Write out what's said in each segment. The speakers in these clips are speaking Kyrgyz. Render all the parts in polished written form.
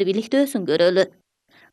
бийликтөөсүн көрөлү.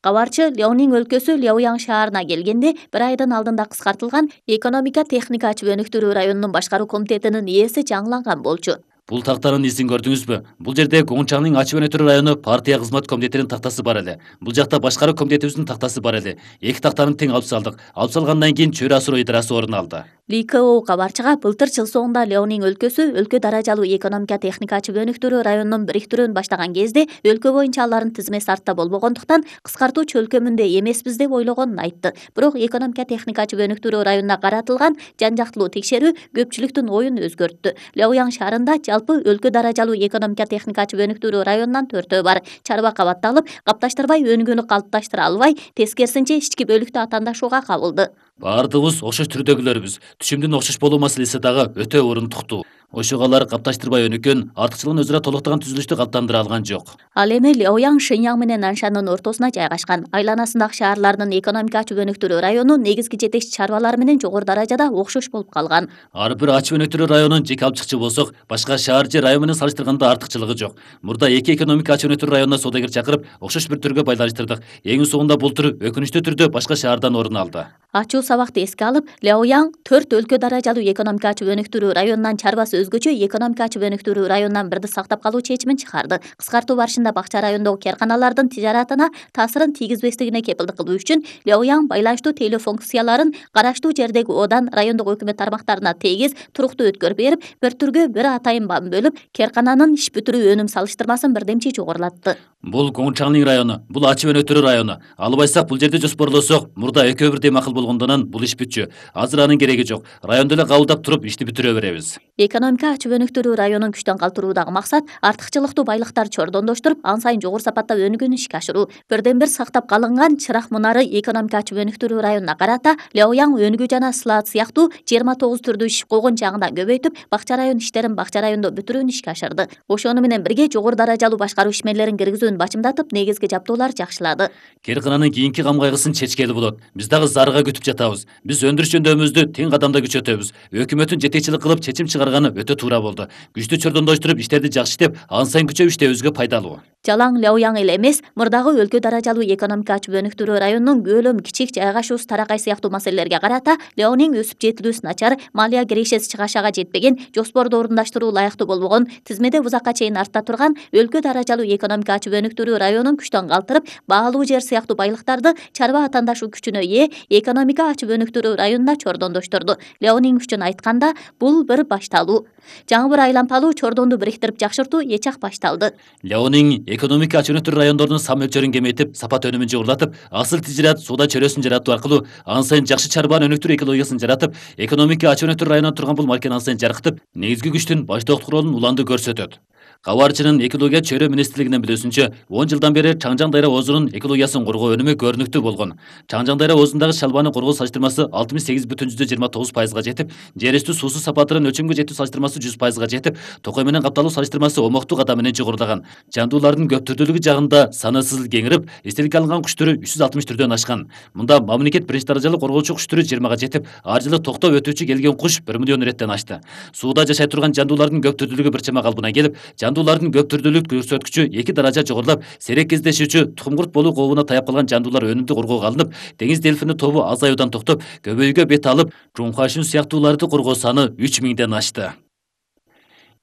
Кабарчы Леонин өлкөсү Ляоян шаарына келгенде 1 айдын алдында кыскартылган экономика техника ачып өнүктүрүү районунун башкаруу комитетинин ээси жаңыланган болчу. Бул тактанын изин көрдүңүзбү? Бул жерде Гончаңдын ачып өнүктүрүү району партия кызмат комитетинин тактасы бар эле. Бул жакта башкаруу комитетибиздин тактасы бар эле. Эки тактаны тең алып салдык. Алып салгандан кийин чөйрө асыроо идарасы орун алды. ЛКО кабарчыга былтыр жыл соңунда Леонин өлкөсү өлкө даражалуу экономика техника ачып өнүктүрүү районунун бириктирүүнү баштаган кезде өлкө боюнча алардын тизмеси артта болбогондуктан кыскартуу чөлкөмүндө эмеспиз деп ойлогонун айтты. Бирок экономика техника ачып өнүктүрүү районуна каратылган жан жактылуу текшерүү көпчүлүктүн оюн өзгөрттү. Ляоян шаарында жалпы өлкө даражалуу экономика техника ачып өнүктүрүү районунан 4 бар. Чарба кабатталып, капташтырбай өнүгүүнү калыпташтыра албай, тескерисинче ички бөлүктө атаандашууга кабылды. Баардыгыбыз окшош түрдөгүлөрбүз. Түшүмдүн окшош болуу маселеси дагы өтө орундуктуу. Ошого алар капташтырбай өнүккөн, артыкчылыгын өзүрө толуктаган түзүлүштү калыптандыра алган жок. Ал эми Ляоян Шэньян менен Наншандын ортосуна жайгашкан. Айланасындагы шаарлардын экономика ачып өнүктүрүү району негизги жетекчи чарбалар менен жогору даражада окшош болуп калган. Ар бир ачып өнүктүрүү районун жеке алып чыкчу болсок, башка шаар же район менен салыштырганда артыкчылыгы жок. Мурда эки экономика ачып өнүктүрүү районуна соодагер чакырып, окшош бир түргө байланыштырдык. Эң соңунда бул түр өкүнүчтүү түрдө башка шаардан орун алды. Ачуу сабакты эске алып, Ляоян 4 өлкө даражалуу экономика ачып өнүктүрүү районунан чарбасы өзгөчө экономика ачып өнүктүрүү районунан бирди сактап калуу чечимин чыгарды. Кыскартуу барышында бакча райондогу карканалардын тижаратына таасирин тийгизбестигине кепилдик кылуу үчүн Ляоян байланыштуу тейлөө функцияларын караштуу жердеги одан райондогу өкмөт тармактарына тегиз, туруктуу өткөрүп берип, бир түргө бир атайын бам бөлүп, каркананын иш бүтүрүү өнүм салыштырмасын бирдемчи жогорулатты. Бул Гончаңдын району, бул ачып өнүктүрүү району. Албайсак бул жерде жоспорлосок, мурда экөө бирдей макул болгондон бул иш бүтчү. Азыр анын кереги жок. Райондо эле кабылдап туруп ишти бүтүрө беребиз. Экономика ачып өнүктүрүү районун күчтөн калтыруудагы максат артыкчылыктуу байлыктарды чордондоштуруп, ан сайын жогору сапатта өнүгүүнү ишке ашыруу. Бирден бир сактап калынган чырак мунары экономика ачып өнүктүрүү районуна карата Ляоян өнүгүү жана сылаат сыяктуу 29 түрдүү иш койгон жагынан көбөйтүп, бакча район иштерин бакча райондо бүтүрүүнү ишке ашырды. Ошону менен бирге жогору даражалуу башкаруу ишмерлерин киргизүүнү бачымдатып, негизги жабдуулар жакшылады. Керкананын кийинки кам кайгысын чечкели болот. Биз дагы зарыга күтүп жатабыз. Биз өндүрүш жөндөмүздү тең кадамда күчөтөбүз. Өкмөттүн жетекчилик кылып чечим чыгарганы өтө туура болду. Күчтү чордондоштуруп иштерди жакшы иштеп, ан сайын күчөп иштебибизге пайдалуу. Жалаң Ляоян эле эмес, мурдагы өлкө даражалуу экономика ачып өнүктүрүү районунун көлөм кичик жайгашуусу таракай сыяктуу маселелерге карата Ляонин өсүп жетилүүсү начар, малия кирешеси чыгашага жетпеген, жоспорду орундаштыруу ылайыктуу болбогон, тизмеде узакка чейин артта турган өлкө даражалуу экономика ачып өнүктүрүү районун күчтөн калтырып, баалуу жер сыяктуу байлыктарды чарба атаандашуу күчүнө ээ экономика ачып өнүктүрүү районуна чордондоштурду. Ляонин үчүн айтканда, бул бир башталуу. Жаңы бир айлампалуу чордонду бириктирип жакшыртуу эч ак башталды. Ляонин экономика ачып өнүктүрүү райондорунун сан мөлчөрүн кемейтип, сапат өнүмүн жогорулатып, асыл тижират соода чөйрөсүн жаратуу аркылуу ан сайын жакшы чарбаны өнүктүрүү экологиясын жаратып, экономика ачып өнүктүрүү районунан турган бул марканы ан сайын жаркытып, негизги күчтүн баштоктук ролун уланды көрсөтөт. Кабарчынын экология чөйрө министрлигинин билүүсүнчө, 10 жылдан бери Чаңжаң дайра оозунун экологиясын коргоо өнүмү көрүнүктүү болгон. Чаңжаң дайра оозундагы шалбаны коргоо салыштырмасы 68,29% жетип, жер үстү суусу сапатынын өлчөмгө жетүү салыштырмасы 100% жетип, токой менен капталуу салыштырмасы омоктуу кадам менен жогорулаган. Жандуулардын көп түрдүүлүгү жагында санысыз кеңирип, эстеликке алынган куш түрү 360 түрдөн ашкан. Мында мамлекет биринчи даражалуу коргоочу куш түрү 20га жетип, ар жылы токтоп өтүүчү келген куш 1 миллион иреттен ашты. Сууда жашай турган жандуулардын көп түрдүүлүгү бир чама калыбына келип, жандуулардын көп түрдүүлүк көрсөткүчү 2 даража жогорулап, сейрек кездешүүчү тукум курт болуу кообуна таяп калган жандуулар өнүмдүү коргоого алынып, деңиз дельфини тобу азаюудан токтоп, көбөйүүгө бет алып, жуңкашын сыяктууларды коргоо саны 3000ден ашты.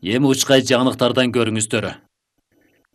Эми учкай жаңылыктардан көрүңүздөр.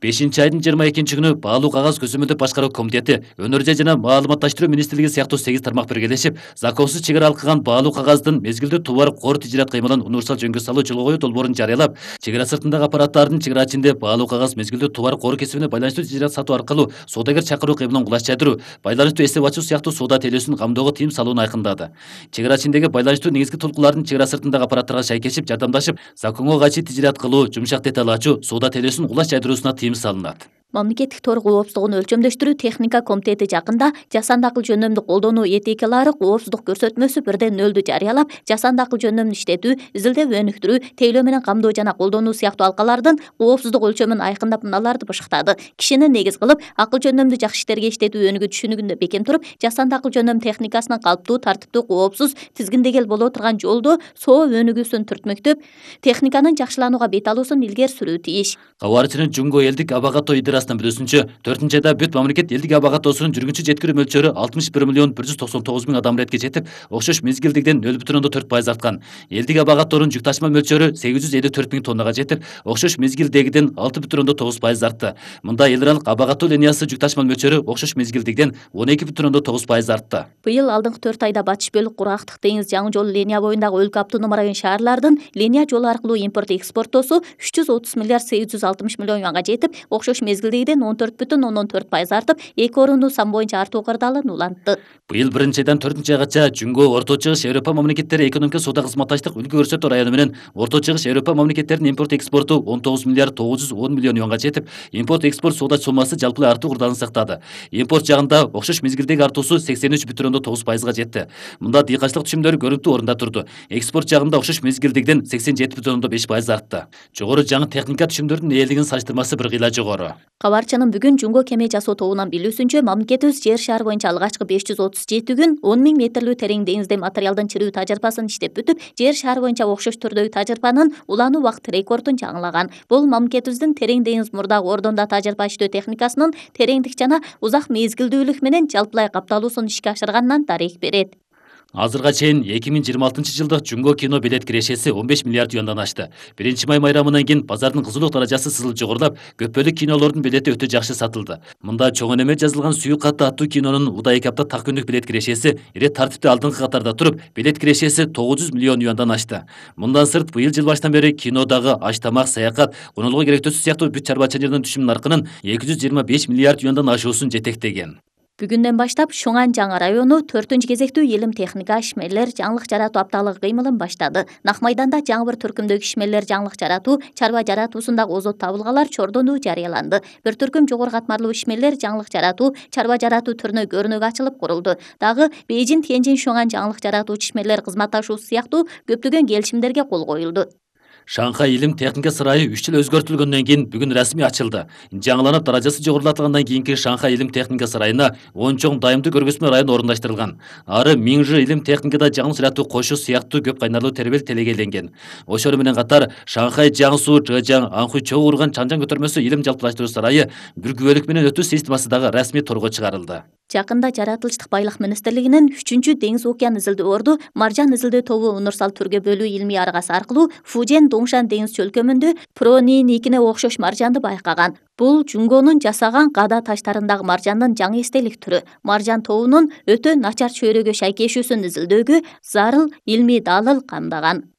5-айдын 22-күнү баалуу кагаз көзөмөлдөп башкаруу комитети, өнөр жай жана маалыматташтыруу министрлиги сыяктуу 8 тармак биргелешип, законсуз чек ара алкаган баалуу кагаздын мезгилдүү товар кор тижират кыймылын универсал жөнгө салуу жолго коюу долбоорун жарыялап, чек ара сыртындагы аппараттардын чек ара ичинде баалуу кагаз мезгилдүү товар кор кесибине байланыштуу тижират сатуу аркылуу соодагер чакыруу кыймылын кулаш жайдыруу, байланыштуу эсеп ачуу сыяктуу соода тейлөөсүн камдоого тыйым салууну айкындады. Чек ара ичиндеги байланыштуу негизги толкуулардын чек ара сыртындагы аппараттарга шайкешип, жардамдашып, законго кайшы тижират кылуу, жумшак деталь ачуу, соода тейлөөсүн кулаш жайдыруусуна тыйым салынат. Мамлекеттик тор коопсуздугун өлчөмдөштүрүү техника комитети жакында жасанды акыл жөндөмдү колдонуу этикалары коопсуздук көрсөтмөсү 1/0 жарыялап, жасанды акыл жөндөмдү иштетүү, изилдеп өнүктүрүү, тейлөө менен камдоо жана колдонуу сыяктуу алкалардын коопсуздук өлчөмүн айкындап, мыналарды башыктады. Кишини негиз кылып, акыл жөндөмдү жакшы иштерге иштетүү өнүгүү түшүнүгүндө бекем туруп, жасанды акыл жөндөм техникасынын калыптуу, тартиптүү, коопсуз, тизгиндегел боло турган жолдо соо өнүгүүсүн түртмөктөп, техниканын жакшыланууга бет алуусун илгери сүрүү тийиш. Кабарчынын Жумго элдик абага той компаниясынын билүүсүнчө 4-айда бүт мамлекет элдик аба катоосунун жүргүнчү жеткирүү мөлчөрү 61.199.000 адам иретке жетип, окшош мезгилдигиден 0.4% арткан. Элдик аба катоонун жүк ташыма мөлчөрү 854.000 тоннага жетип, окшош мезгилдегиден 6.9% артты. Мында эл аралык аба катоо линиясы жүк ташыма мөлчөрү окшош мезгилдигиден 12.9% артты. Быйыл алдыңкы 4 айда батыш бөлүк кургактык деңиз жаңы жол линия боюндагы өлкө автоном район шаарлардын линия жолу аркылуу импорт экспорттоосу 330 миллиард 860 миллион юанга жетип, окшош мезгилдегиден 14.4% артып, 2 орунду сан боюнча артуу кырдаалын улантты. Быйыл 1-айдан 4-айгача Жөнгө Орто Чыгыш Европа мамлекеттери экономика соода кызматташтык үлгү көрсөтүү району менен Орто Чыгыш Европа мамлекеттеринин импорт экспорту 19 миллиард 910 миллион юанга жетип, импорт экспорт соода сомасы жалпылай артуу кырдаалын сактады. Импорт жагында окшош мезгилдеги артуусу 83.9%га жетти. Мында дыйканчылык түшүмдөр көрүнүктүү орунда турду. Экспорт жагында окшош мезгилдигиден 87.5% артты. Жогору жаңы техника түшүмдөрдүн ээлигинин салыштырмасы бир кыйла жогору. Кабарчынын бүгүн Жөнгө кеме жасоо тобунан билүүсүнчө, мамлекетибиз жер шаар боюнча алгачкы 537 күн 10 000 метрлүү терең деңизде материалдын чирүү тажырыпасын иштеп бүтүп, жер шаар боюнча окшош түрдөгү тажырыпанын улануу убакыт рекордун жаңылаган. Бул мамлекетибиздин терең деңиз мурдагы ордонда тажырыпа иштөө техникасынын тереңдик жана узак мезгилдүүлүк менен жалпылай капталуусун ишке ашырганынан дарек берет. Азырга чейин 2026-жылдык Жөнгө кино билет кирешеси 15 миллиард юандан ашты. 1-май майрамынан кийин базардын кызуулук даражасы сызылып жогорулап, көпбөлүк кинолордун билети өтө жакшы сатылды. Мында чоң энеме жазылган Сүйүк катты аттуу кинонун удай эки апта так күндүк билет кирешеси ирет тартипте алдыңкы катарда туруп, билет кирешеси 900 миллион юандан ашты. Мындан сырт быйыл жыл башынан бери кинодагы аш тамак, саякат, конолугу керектөөсү сыяктуу бүт чарбачылыгынын түшүм наркынын 225 миллиард юандан ашуусун жетектеген. Бүгүндөн баштап Шуңан жаңы району 4-кезектүү илим техника ишмерлер жаңылык жаратуу апталыгы кыймылын баштады. Нак майданда жаңы бир түркүмдөгү ишмерлер жаңылык жаратуу, чарба жаратуусундагы озот табылгалар чордонуу жарыяланды. Бир түркүм жогору катмарлуу ишмерлер жаңылык жаратуу, чарба жаратуу түрүнө көрүнөк ачылып курулду. Дагы Бейжин, Тяньжин, Шуңан жаңылык жаратуучу ишмерлер кызматташуусу сыяктуу көптөгөн келишимдерге кол коюлду. Шанхай илим техника сарайы 3 жыл өзгөртүлгөндөн кийин бүгүн расмий ачылды. Жаңыланып даражасы жогорулатылгандан кийинки Шанхай илим техника сарайына 10 чоң дайымдуу көргөзмө району орундаштырылган. Ары Миңжи илим техникада жаңы жаратуу кошу сыяктуу көп кайнарлуу тербел телегейленген. Ошол менен катар Шанхай Жаңсу, Чжэжяң, Анхуй Чоу урган Чанжаң көтөрмөсү илим жалпылаштыруу сарайы бир күбөлүк менен өтүү системасы дагы расмий торго чыгарылды. Жакында жаратылыштык байлык министрлигинин 3-деңиз океан изилдөө орду маржан изилдөө тобу универсал түргө бөлүү илмий аргасы аркылуу Фужен Доңшан деңиз чөлкөмүндө Прониникине окшош маржанды байкаган. Бул Жунгонун жасаган када таштарындагы маржандын жаңы эстелик түрү. Маржан тобунун өтө начар чөйрөгө шайкешүүсүн изилдөөгө зарыл илмий далыл камдаган.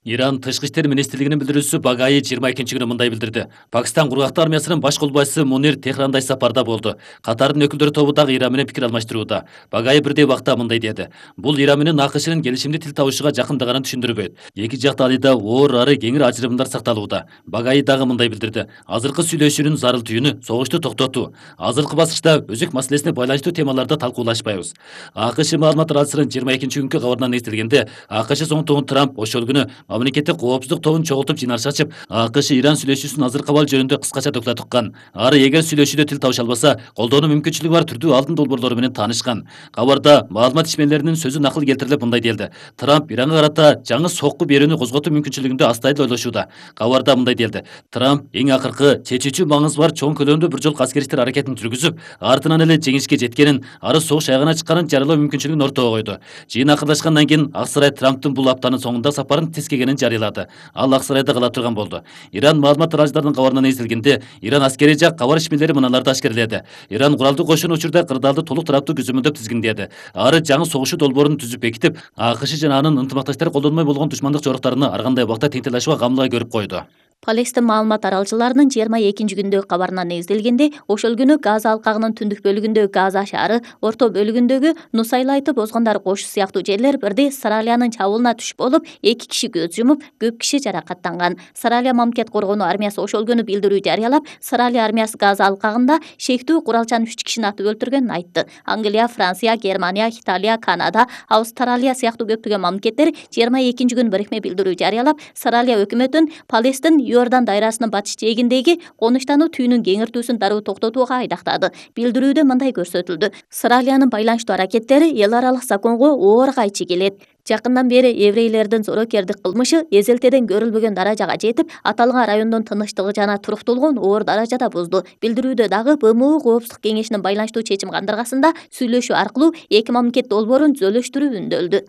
Иран тышкы иштер министрлигинин билдирүүсү Багаи 22-күнү мындай билдирди. Пакистан кургактуу армиясынын баш колбайчысы Мунир Техранда сапарда болду. Катардын өкүлдөрү тобу дагы Иран менен пикир алмаштырууда. Багаи бирдей убакта мындай деди. Бул Иран менен АКШнын келишимди тил табышууга жакындыганын түшүндүрбөйт. Эки жак талыйда оор ары кеңир ажырымдар сакталууда. Багаи дагы мындай билдирди. Азыркы сүйлөшүүнүн зарыл түйүнү согушту токтотуу. Азыркы баскычта өзөк маселесине байланыштуу темаларда талкуулашпайбыз. АКШ маалымат радиосунун 22-күnkү кабарынан эстелгенде, АКШ соңтугун Трамп ошол күнү мамлекеттик коопсуздук тобун чогултуп жыйналыш ачып, АКШ Иран сүйлөшүүсүнүн азыркы абалы жөнүндө кыскача доклад уккан. Ары эгер сүйлөшүүдө тил табыша албаса, колдонуу мүмкүнчүлүгү бар түрдүү алдын долбоорлору менен таанышкан. Кабарда маалымат ишмерлеринин сөзү накыл келтирилип мындай делди. Трамп Иранга карата жаңы сокку берүүнү козготуу мүмкүнчүлүгүндө астайыл ойлошууда. Кабарда мындай делди. Трамп эң акыркы чечүүчү маңызы бар чоң көлөмдүү бир жолку аскери иштер аракетин жүргүзүп, артынан эле жеңишке жеткенин, ары согуш аягына чыкканын жарыялоо мүмкүнчүлүгүн ортого койду. Жыйын акырдашкандан кийин Ак сарай Трамптын бул аптанын соңунда сапарын тескегенин жарыялады. Ал Ак сарайда кала турган болду. Иран маалымат радиолорунун кабарынан эзилгенде, Иран аскери жак кабар ишмерлери мыналарды ашкерледи. Иран куралдуу кошун учурда кырдаалды толук тараптуу түзүмөндөп тизгиндеди. Ары жаңы согушуу долбоорун түзүп бекитип, АКШ жана анын ынтымакташтары колдонмой болгон душмандык жоруктарына ар кандай убакта тең тилашууга камлыга көрүп койду. Палестин маалымат аралчыларынын 22-күндөгү кабарынан эзделгенде, ошол күнү Газа алкагынын түндүк бөлүгүндөгү Газа шаары, орто бөлүгүндөгү Нусайлайтып озгондар кошу сыяктуу жерлер бирдей Саралиянын чабуулуна түшүп болуп, 2 киши көз жумуп, көп киши жаракаттанган. Саралия мамлекет коргонуу армиясы ошол күнү билдирүү жарыялап, Саралия армиясы Газа алкагында шектүү куралчан 3 кишини атып өлтүргөнүн айтты. Англия, Франция, Германия, Италия, Канада, Австралия сыяктуу көптөгөн мамлекеттер 22-күнү бирикме билдирүү жарыялап, Саралия өкмөтүн Палестин Иордан дайрасынын батыш жээгиндеги конуштануу түйүнүн кеңиртүүсүн дароо токтотууга айдактады. Билдирүүдө мындай көрсөтүлдү. Исраилиянын байланыштуу аракеттери эл аралык законго оор кайчы келет. Жакындан бери еврейлердин зорокердик кылмышы эзелтеден көрүлбөгөн даражага жетип, аталган райондун тынычтыгы жана туруктуулугун оор даражада бузду. Билдирүүдө дагы БМУ Коопсуздук кеңешинин байланыштуу чечим кандыргасында сүйлөшүү аркылуу эки мамлекет долбоорун түзөлүштүрүү үндөлдү.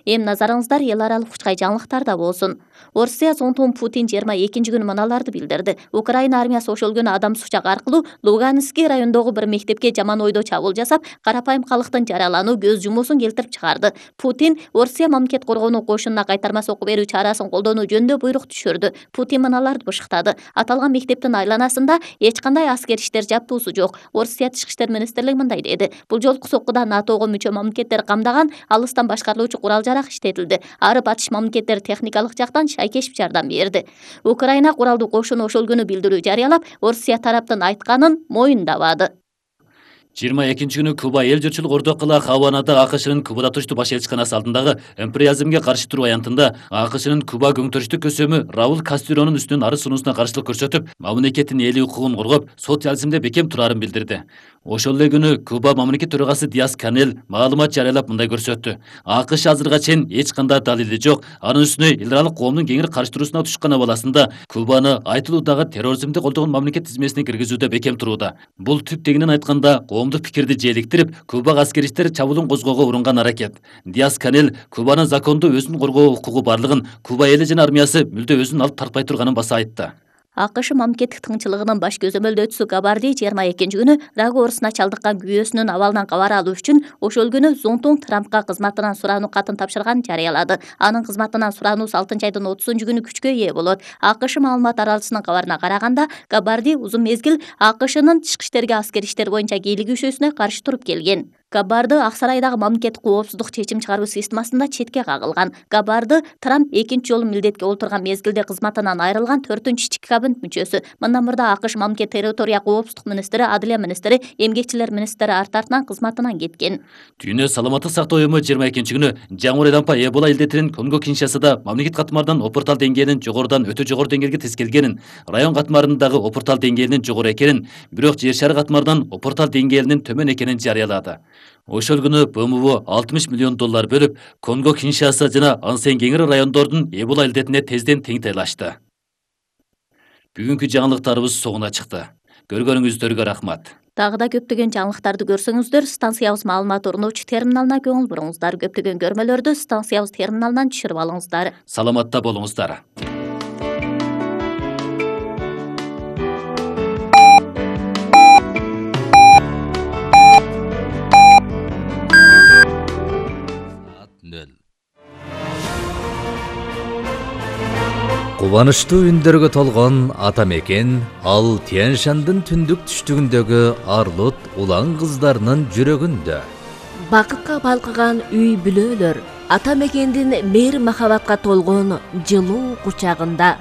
Эми назарыңыздар эл аралык учкай жаңылыктарда болсун. Орусия соңтун Путин 22-күнү мыналарды билдирди. Украина армиясы ошол күнү адамсыз учак аркылуу Луганский райондогу бир мектепке жаман ойдо чабуул жасап, карапайым калктын жаралануу көз жумуусун келтирип чыгарды. Путин Орусия мамлекет коргонуу кошунуна кайтарма сокку берүү чарасын колдонуу жөнүндө буйрук түшүрдү. Путин мыналарды бышыктады. Аталган мектептин айланасында эч кандай аскер иштер жаптуусу жок. Орусия тышкы иштер министрлиги мындай деди. Бул жолку соккуда НАТОго мүчө мамлекеттер камдаган алыстан башкарылуучу курал-жарак иштетилди. Ары батыш мамлекеттер техникалык жактан шайкешип жардам берди. Украина куралдуу кошуну ошол күнү билдирүү жарыялап, Орусия тараптын айтканын моюндабады. 22-күнү Куба эл журтчулук ордокула Хаванада АКШнын Кубада туруштуу баш элчиканасы алдындагы империализмге каршы туруу аянтында АКШнын Куба көңтөрүштүк көсөмү Рауль Кастильонун үстүнөн арыз сунуусуна каршылык көрсөтүп, мамлекеттин эле укугун коргоп, социализмде бекем турарын билдирди. Ошол эле күнү Куба мамлекет төрагасы Диас-Канель маалымат жарыялап мындай көрсөттү. АКШ азырга чейин эч кандай далили жок. Анын үстүнө эл аралык коомдун кеңири каршы туруусуна тушкан абаласында Кубаны айтылуудагы терроризмди колдогон мамлекет тизмесине киргизүүдө бекем турууда. Бул түп тегинен айтканда коомдук пикирди желиктирип, Кубага аскериштер чабуулун козгоого урунган аракет. Диас-Канель Кубанын закондуу өзүн коргоо укугу барлыгын, Куба эли жана армиясы мүлдө өзүн алып тартпай турганын баса айтты. АКШ мамлекеттик тыңчылыгынын баш көзөмөлдөөчүсү Габарди 22-күнү рак оорусуна чалдыккан күйөөсүнүн абалынан кабар алуу үчүн ошол күнү Зонтун Трампка кызматынан сураануу катын тапшырганын жарыялады. Анын кызматынан сураануу 6-айдын 30-күнү күчкө ээ болот. АКШ маалымат аралчысынын кабарына караганда, Габарди узун мезгил АКШнын тышкы иштерге аскер иштер боюнча кийлигишүүсүнө каршы туруп келген. Габарды Ак сарайдагы мамлекеттик коопсуздук чечим чыгаруу системасында четке кагылган. Габарды Трамп экинчи жолу милдетке олтурган мезгилде кызматынан айрылган 4-ички кабинет мүчөсү. Мындан мурда АКШ мамлекет территория коопсуздук министри, адилия министри, эмгекчилер министри артартынан кызматынан кеткен. Дүйнө саламаттык сактоо уюму 22-күнү жаңы рампа Эбола илдетинин Конго-Киншасада мамлекет катмарынан опуртал деңгээлинин жогорудан өтө жогору деңгээлге тескелгенин, район катмарындагы опуртал деңгээлинин жогору экенин, бирок жер шары катмарынан опуртал деңгээлинин төмөн экенин жарыялады. Ошол күнү БМУ $60 миллион бөлүп, Конго-Киншаса жана ансен кеңири райондордун Эбола илдетине тезден тең тайлашты. Бүгүнкү жаңылыктарыбыз соңуна чыкты. Көргөнүңүздөргө рахмат. Дагы да көптөгөн жаңылыктарды көрсөңүздөр, станциябыз маалымат орнотуучу терминалына көңүл буруңуздар. Көптөгөн көрмөлөрдү станциябыз терминалынан түшүрүп алыңыздар. Саламатта болуңуздар. Кубанычтуу үндөргө толгон ата мекен ал Тянь-Шандын түндүк түштүгүндөгү Арлут улан кыздарынын жүрөгүндө. Бакытка балкыган үй бүлөлөр ата мекендин мейир махабатка толгон жылуу кучагында.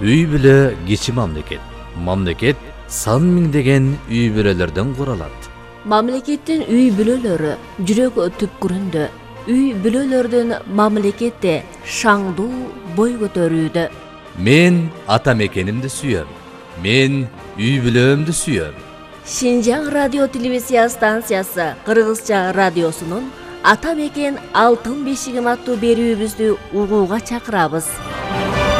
Үй бүлө кичи мамлекет. Мамлекет сан миңдеген үй бүлөлөрдөн куралат. Мамлекеттин үй бүлөлөрү жүрөк түпкүрүндө. Үй бүлөлөрдүн мамлекетте шаңдуу бой көтөрүүдө. Мен ата мекенимди сүйөм. Мен үй бүлөмдү сүйөм. Шинжаң радио телевизия станциясы Кыргызча радиосунун Ата мекен алтын бешигим аттуу берүүбүздү угууга чакырабыз.